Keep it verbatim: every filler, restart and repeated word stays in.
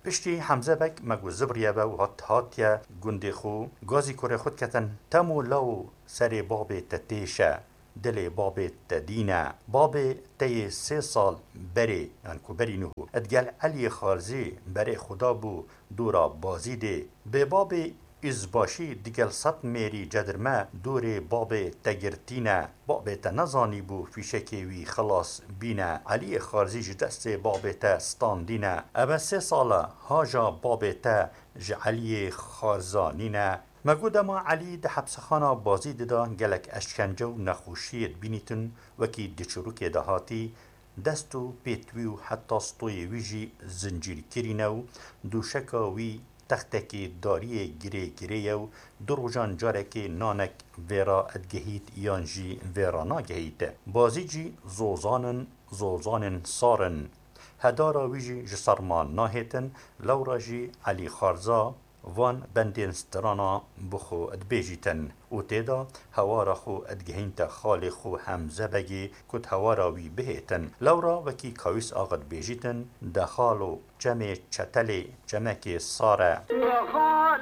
Piştî Hemze Beg me ku zibriye be û hat hatiye gundê xwe, gazî kurê xwe diketin, Temo law serê babê te têşe, dilê babê te dîne. Babê te yê sê sal berê, yan ku berî niho, digel Eliyê Xarzî berê xwe dabû dora Bazîdê. Bê babê Îzbaşî digel sed mêrî cedirme dorê babê te girtîne. Babê te nezanîbû fîşekê wî xilas bîne. Eliyê Xarzî ji destê babê te standîne. Eve sê sal e haja babê te ji Eliyê Xarzanî ne. Me got dema Elî di hepsexana Bazîdê de gelek eşkence û nexweşiyê dibînîtin, wekî di çirûkê de hatî, dest û pêt wî û heta stoyê wî jî zincîrkirî ne û dûşeka wî textekê dariyê girê girê ye û du rojan carekê nanek vêra digihît yan jî vêra nagihît. Bazîd jî zozan in, zozanên sar in. Hedara wî jî ji serma nahêtin, lewra jî Elî Xarza van bendên strana bi xwe dibêjîtin û tê de hewara xwe digihînte xalê xwe Hemze Begê ku di hewara wî bihêtin. Lewra wekî Kawîs Axa dibêjîtin, De xalo, çemê çetelê çemekê sar e.